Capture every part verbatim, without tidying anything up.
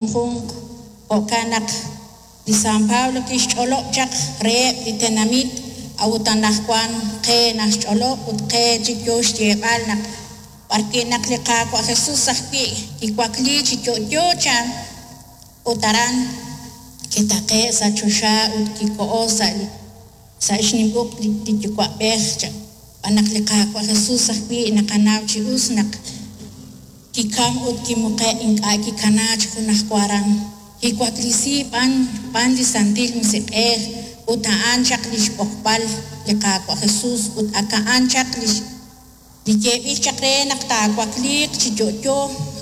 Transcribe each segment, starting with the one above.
Junjunq. Jo'kan naq li San Pablo kixch'olob' chaq reheb' li tenamit, a'ut anaqwan qe naxch'olob' ut qe chik yo xyeeb'al naq b'arwi' naq li Qaawa' Jesús ajwi' kiwakliik chi yo'yo chan, ut aran kitaqe'k sa' choxa ut kikoho sa' li sa' xnim uq' li Yuwa'b'ej chan. Xb'aan naq li Qaawa' Jesús ajwi' naqanaw chi us naq kikam ut kimuqe'k, ink'a' kikanaak chi junajwa aran, kiwaklesiik b'an xb'aan li Santil Musiq'ej, ut a'an chaq li xb'oqb'al li Qaawa' Jesús, ut ak a'an chaq li li yeeb'il chaq re naq taawakliiq chi yo'yo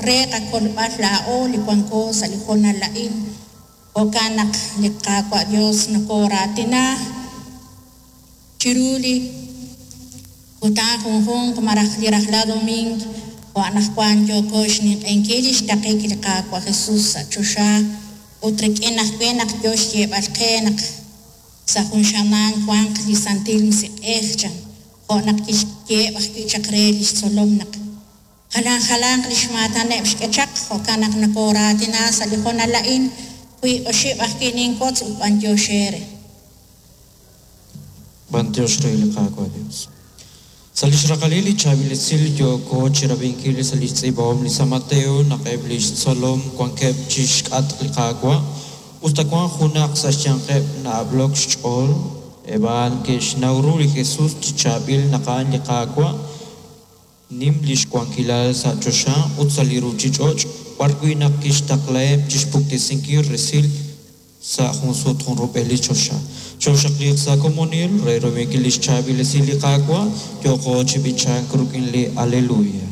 re qakolb'al laa'o li wanko sa' li hoonal a'in. Jo'kan naq li Qaawa' Dios nokooraatina chiru li kutan junjunq malaj li rajlal domiing, jo' anaqwan yooko xninq'ehinkil li xtaqik li Qaawa' Jesús sa' choxa, ut rik'in ajwi' naq yo xyeeb'al qe naq sa' jun xamaan wanq li Santil Musiq'ej chan, jo' naq kixyeeb' ajwi' chaq re li xtzolom naq jalan jalanq li xmaataneb' xk'e chaq. Jo'kan naq nokooraatina sa' li hoonal a'in. Wiib' oxib' ajwi' ninwotz ut b'antiox eere. B'antiox re li Qaawa' Dios. Sa' li xraqalil li chaab'il esil yooko chirab'inkil sa' li xtz'iib'ahom li San Mateo naq eb' li xtzolom wankeb' chi xk'atq li Qaawa', us ta wank junaq sa' xyanqeb' na'ab'lok xch'ool, eb' a'an ke'xnaw ru li Jesus chi chaab'il naq a'an li Qaawa', nim li xwankilal sa' choxa ut sa' li ruuchich'och', b'arwi' naq kixtaqlaheb' chi xpuktesinkil resil sa' jun sut junrub'el li choxa. Chooxaqliiq sa' komonil re rab'inkil li xchaab'il esil li Qaawa', yooqo chi b'ichank rik'in li Aleluya.